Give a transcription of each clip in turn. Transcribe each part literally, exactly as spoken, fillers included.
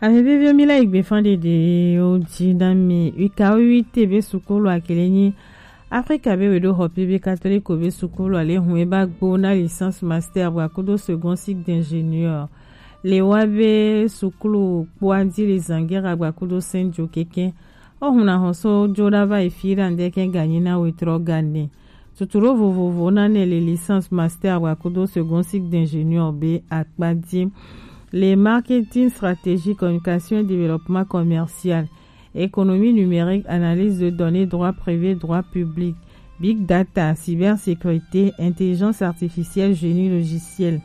Ame veviwo, mi la yi gbe fan ɖeɖe wo ji na mi. Wika wo wi te be sukulu akele nyi Afrika be weɖo xɔ pe be katoliko be sukulu ale hun e ba gbo na licence master bwa kudo second cycle d'ingénieur. Le wa be sukulu kpo adi le zangera bwa kudo senjo keke. O hun na xɔ so jo da va yi fi da ndeke ganyi na wetrɔ gane. Tutu ɖo vovovo na ne le licence master wa kudo second cycle d'ingénieur be akpa di. Le marketing, stratégie, communication et développement commercial, économie numérique, analyse de données, droit privé, droit public, big data, cybersécurité, intelligence artificielle, génie logiciel.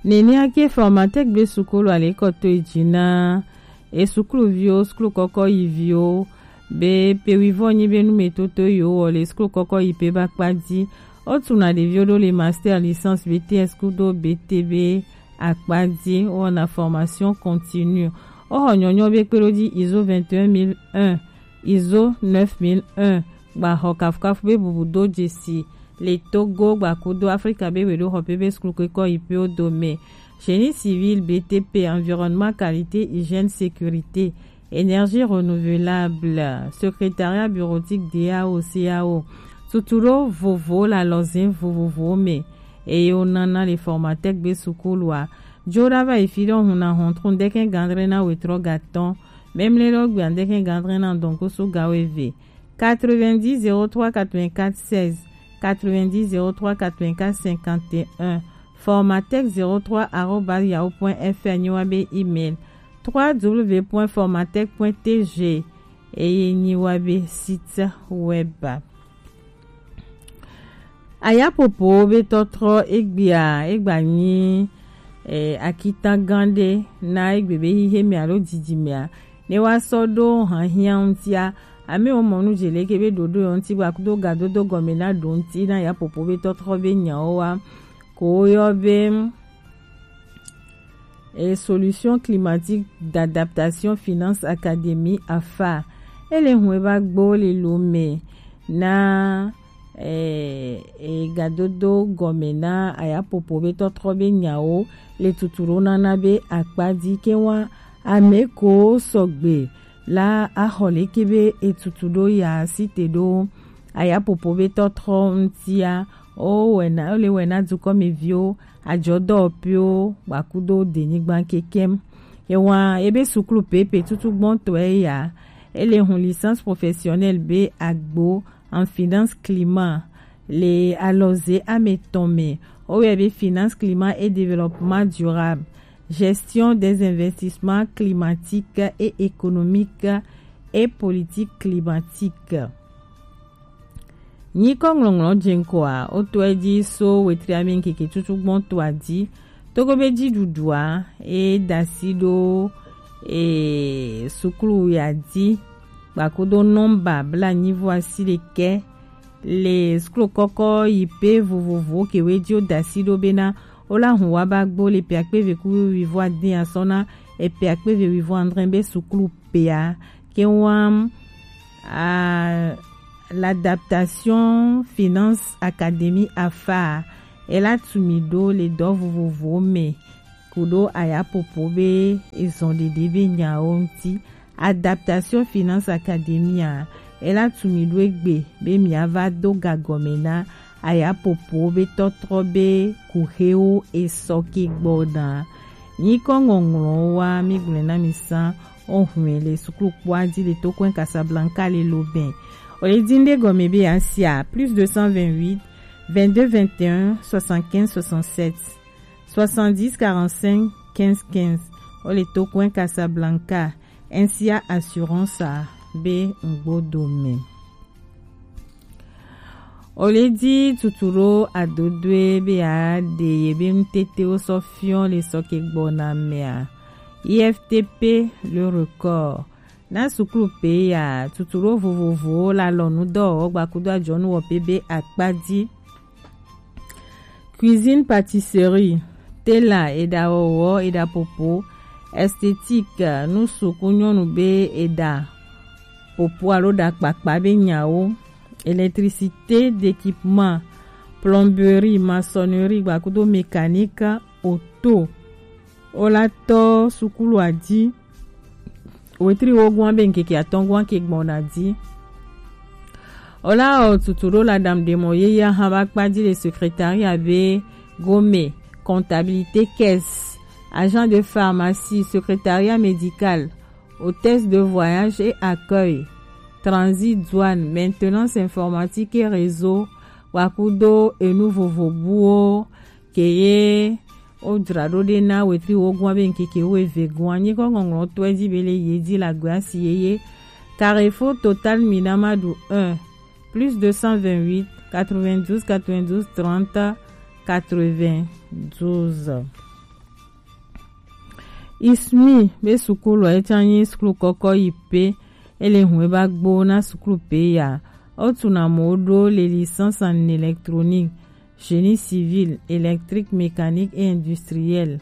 Nenia ke Formatec be sukulu ale kɔ to eji na e sukuluviwo, sukulu kɔkɔ yiviwo, be pe wivɔ nyi be numetoto yiwo wɔ le sukulu kɔkɔ yi pe ba kpa di. O tuna ɖeviwo ɖo le master, licence, B T S kudo B T be akpa di, wɔna formation continue. O xɔ nyɔnyɔ be kpe ɖo di ISO vingt et un mille un, ISO neuf mille un, gba xɔ kafukafu be bubu do jesi le Togo gba kudo Afrika be weɖo xɔ pe be sukulu kɔkɔ yi pe wo do me. Génie civil, B T P, environnement, qualité, hygiène, sécurité, énergie renouvelable, secrétariat bureautique, D A O, C A O. Tutu ɖo vovo le alɔze vovovowo me. Eye wo nana le Formatec be sukulua. Jo da va yi fi ɖe hun na xɔntru ndeke gandre na wetrɔ gatɔn. Memle ɖo gbe ndeke gandre na dɔnkoso gawo eve. Quatre-vingt-dix zéro trois quatre-vingt-quatre seize, quatre-vingt-dix zéro trois quatre-vingt-quatre cinquante et un, formatec zéro trois arobase yahoo point F R nyi wa be email, trois W point formatec point T G eye nyi wa be site web. Ayapopo be tɔtrɔ egbea egba nyi eh, akitan gan ɖe na egbe be xixe me alo didi mea, ne wa sɔ ɖo hanhiã ŋutia, ame wo mɔ nu dze leke be ɖoɖo yɔ ŋuti gba kudo gadodo gɔme na ɖo ŋuti na Ayapopo be tɔtrɔ be nyawo wa ko woyɔ be eh, Solution Climatique d'Adaptation Finance Academy, afa. Ele hun eba gbo le lo me na eh, eh, gadodo gɔme na Ayapopo be tɔtrɔ be nyawo le tutu ɖo nana be akpa di ke wa ame ko sɔgbe la axɔ leke be etutu ɖo ya site ɖo Ayapopo be tɔtrɔ ŋutia. O wɛna, o le wɛna dukɔmeviwo, ajɔdɔwɔpiwo, gba kudo denyigba kekem. Ewa ebe sukulu pepe tutu gbɔntɔe ya. Ele hun licence professionnelle be agbo en finance climat le alɔze ametɔn me. Woyɔe be finance climat et développement durable, gestion des investissements climatiques et économiques et politique climatique. Nyikɔ ŋlɔŋlɔ jeŋkɔa, wotɔe dzi so wetri ame ŋkeke tutu gbɔntɔa dzi. Togo be dziɖuɖua e dasi ɖo e sukulu ya dzi. Gbakudo nɔmba bla nyi vɔ asi ɖekɛ le sukulu kɔkɔ yi pe vovovo ke we dzi wo dasi ɖo bena wo la hun wa ba gbo le pe akpe eve ku wivɔ ade asɔ na e pe akpe eve wivɔ andre be sukulu pea ke wam a l'adaptation finance académie afa e la tumi ɖo le dɔ vovovo me kuɖo Ayapopo be ezɔn ɖeɖe be nyawo ŋuti. Adaptation Finance Academy a, e la tumi ɖo egbe be mia va do gagɔme na Ayapopo be tɔtrɔ be kuxewo esɔ ke gbɔ na. Nyikɔ ŋɔŋlɔ wa mi gblɔ na mi sa o hwɛ le sukulu kpɔa dzi le to kɔn Casablanca le Lobɛn. O le din ɖe gɔme be asia plus deux cent vingt-huit, vingt-deux vingt et un, soixante-quinze soixante-sept. Soixante-dix quarante-cinq quinze quinze. O le to kɔn Casablanca. N C A assurance a be ŋgbo do me. O le di tutu ɖo adodoe be a de ye be ŋutete wo sɔ fiɔ le sɔ ke gbɔ na mea. I F T P le record. Na sukulu pe ya tutu ɖo vovovo la lɔ nu dɔ wɔ gba kudo ajɔnu wɔ pe be akpa di. Cuisine, pâtisserie, tela, eɖa wɔwɔ, eɖa popo, esthétique, nusuku nyɔnu be eɖa popo alo ɖa kpakpa be nyawo, électricité, d'équipement, plomberie, maçonnerie, gba kudo mécanique, auto. Ola tɔ sukulu adi. Wetri wogun abe nkeke atɔngua ke gbɔna di. Ola o tutu ɖo la dam de mɔ ye ya ha ba kpa di le secrétariat be gome, comptabilité, caisse, agent de pharmacie, secrétariat médical, hôtesse de voyage et accueil, transit, douane, maintenance informatique et réseau, wakudo enu vovo buwo keye o dzra ɖo ɖe na wetri wogun abe nkeke wo eve gun anyi kɔ ŋɔŋlɔ tɔe di be le ye di la gbe asi yeye. Carrefour Total Minamadu un, plus deux cent vingt-huit, quatre-vingt-douze, quatre-vingt-douze, trente, quatre-vingt-douze. Ismi be sukulu e tsa nyi sukulu kɔkɔ yi pe ele hun e ba gbo na sukulu pe ya. O tuna mo ɖo le licence en électronique, génie civil, électrique, mécanique et industriel,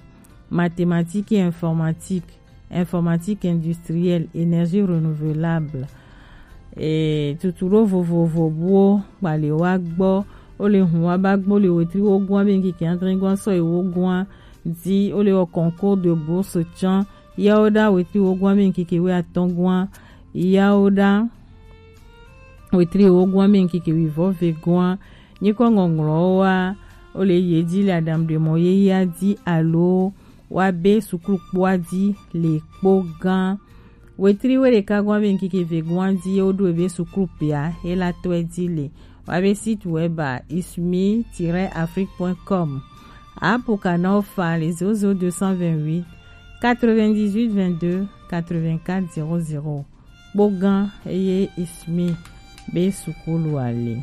mathématiques et informatique, informatique industrielle, énergie renouvelable. E tutu ɖo vovovo buwo gbale wa gbɔ. O le hun wa ba gbo le wetri wogun abe nkeke adre gua sɔ yi wogun di. O le wɔ concours de bourse tsan. Yawo ɖa wetri wogun abe nkeke we atɔngua. Yawo ɖa wetri wogun abe nkeke wi vɔ ve gua. Nyikɔ ŋɔŋlɔ wa o le ye di le adam ɖe mɔ ye ya di alo wa be sukulu kpoa di le kpo gan. Wetri we ɖeka gɔn be nkike ve gɔn di ye wo ɖo ebe sukulu pea e la tɔe di le. Wa be site web a ismi-afrique.com. Apo kana ofa le zéro zéro deux cent vingt-huit quatre-vingt-dix-huit vingt-deux quatre-vingt-quatre zéro zéro. Kpogan eye ismi be sukulu ale.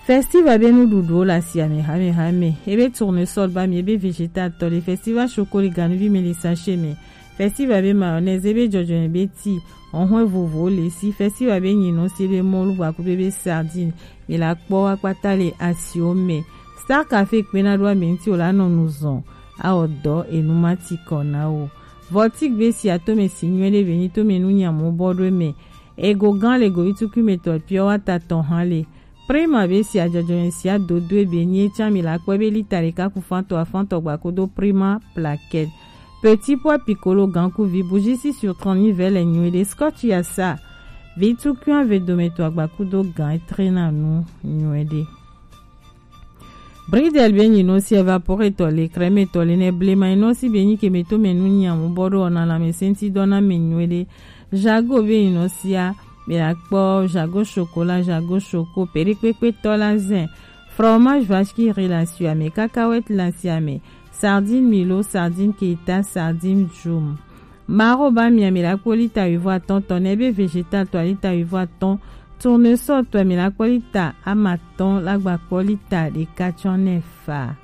Festival be nuɖuɖuwo le asi ame hamehame. Ebe tournesol ba mi, ebe vegetal tɔ le, festival choco le ganuvi me le sachet me, festival be mayonnaise, ebe jɔjɔnɛ be ti, ɔhɔn vovowo le si, festival be nyinɔ si, ebe mɔlu gbaku be be sardine. Mi la kpɔ akpata le asiwo me. Star Cafe kpena ɖo ame ŋuti o la nɔ nu zɔn. Awɔ dɔ enu ma ti kɔ na wo. Vɔtik be si atome si nyuie ɖe be nyi tome nu nyamu bɔ ɖo me. Ego gan le govi tukui me tɔ piɔ wa ta tɔ hã le. Prima be si ajɔjɔ me si adodo be nyi etsa mi la kpɔ be lita ɖeka ku fantɔ afantɔ gba kodo Prima plaquette. Petit pois piccolo gan ku vi bougie si sur trente mille vɛ le nyuie ɖe. Scotch ya sa. Vi tukui ave dome tɔ agba kudo gan etrena nu nyuie ɖe. Bridel be nyi no si evaporator le, crème tɔ le, ne blema ino si be nyi ke me to me nu nyamu bɔ ɖo ɔna la me senti dɔ na me nyuie ɖe. Jago be nyi no sia, me la kpɔ jago chocolat, jago choco, peɖekpekpe tɔ la zin, fromage vache qui rit la si ame, cacahuète la si ame, sardine milo, sardine keta, sardine djum. Maro ba mia mi la kpɔ lita wivɔ atɔn tɔ, ne be vegetal tɔ lita wivɔ atɔn, tournesol tɔ mi la kpɔ lita amatɔn la gba kpɔ lita ɖeka tsɔ ne fa.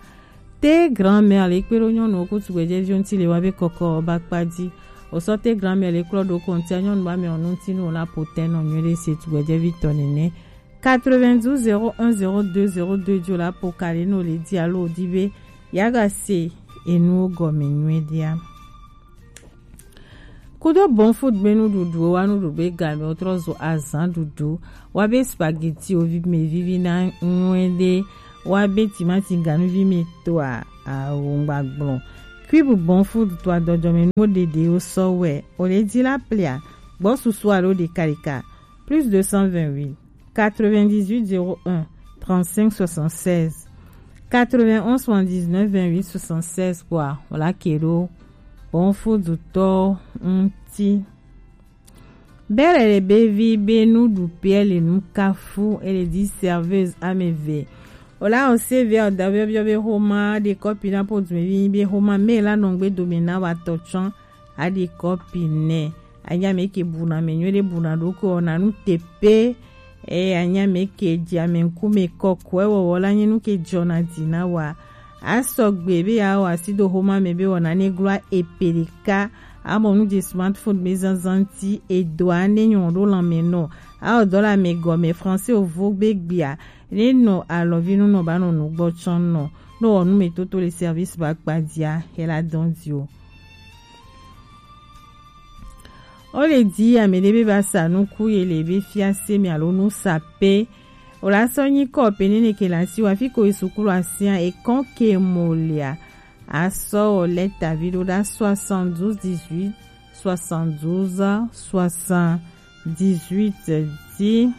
Te grand-mère le kpe ɖo nyɔnuwo ku tugbedzɛviwo ŋuti le wa be kɔkɔ ba kpa dzi. Osɔ te grand-mère le klɔ ɖo kontia nyɔnu ba mi ɔnu ŋuti nu la potɛ nɔ nyuie ɖe se tugbedzɛvi tɔ nene. Quatre-vingt-douze zéro un zéro deux zéro deux dzo la po kali no le di alo di be yaga se enuwo gɔme nyuie ɖea. Kudo bon food be nuɖuɖuwo wa nuɖuɖu be game wotrɔ zo azan ɖuɖu. Wa be spaghetti wo vi me vivi na nyuie ɖe. Wa be timati ganuvi me toa awo ŋgba gblɔ. Cube bon food toa dɔdɔme nuwo ɖeɖe wo sɔ wɛ. O le di la plia. Gbɔ susu alo ɖeka ɖeka. Plus deux cent vingt-huit quatre-vingt-dix-huit zéro un trente-cinq soixante-seize. Quatre-vingt-onze soixante-dix-neuf vingt-huit soixante-seize kpɔa, wòla ke ɖo bon food tɔ ŋuti. Bɛlɛ le be vi be nuɖuƒea le nu kafu, ele di serveuse ame eve. Wòla ose vɛ ɔda biɔbiɔ be xoma ɖe kɔpi na po dumevi be xoma me la nɔ ŋgbe dome na wa tɔ tsɔ. Aɖi kɔpi nɛ. Anya me ke buna me nyuie ɖe buna ɖo ko na nu tepe. E anya me ke dzi ame ŋkume kɔkɔe wɔwɔ la nye nu ke dzɔna dzi na wa. Asɔgbe be ya wɔ asi do xoma me be wɔna ne gloa epe ɖeka. Amɔ nu dzi smartphone be zanzan ti edoa ne nyɔ ɖo lãme nɔ. Awɔ dɔ le ame gɔme français ovo be gbia. Ne nɔ alɔvi nu nɔ ba nɔ nu gbɔ tsɔ nɔ. Nɔ wɔ nu me toto le service ba kpa dzia, hela dɔn dzi o. O le di ame ɖe be ba sa nuku ye le be fiase me alo nu sa pe. O la sɔ nyi kɔ pe nene ke la si wa fi ko yi sukulu asia e kɔn ke mo lea. a sɔ wɔ lɛta vi ɖo ɖa soixante-douze dix-huit soixante-douze soixante-dix-huit. Di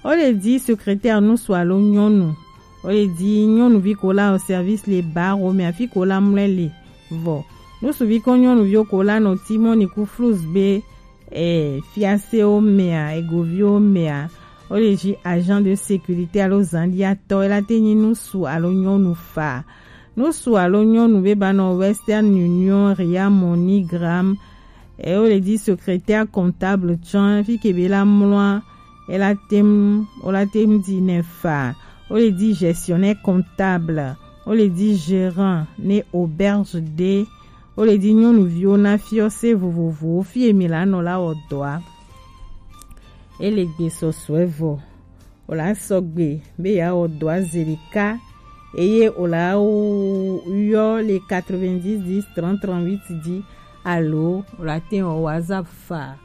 o le di secrétaire nusu alo nyɔnu. O le di nyɔnuvi ko la o service le bar o mɛ afi ko la mlɛ le vɔ. Nusuvi ko nyɔnuviwo ko la nɔ timɔ ni ku flus be e fiasewo mɛa egoviwo mɛa. O le di agent de sécurité alo zandiatɔ e la te nyi nusu alo nyɔnu fa. Nusu alo nyɔnu be ba nɔ Western Union, Ria, MoneyGram, e o le di secrétaire comptable tsɔn fi ke be la mlɔa e la tem o la tem di ne fa. O le di gestionnaire comptable, o le di gérant ne auberge de, o le di nyɔnuviwo na fiɔse vovovowo fi emi la nɔ la wɔ dɔa. E le gbe sɔsɔe vɔ o la sɔgbe be ya wɔ dɔa zelika eye o la yɔ le quatre-vingt-dix dix trente trente-huit di alo o la te wɔ WhatsApp fa.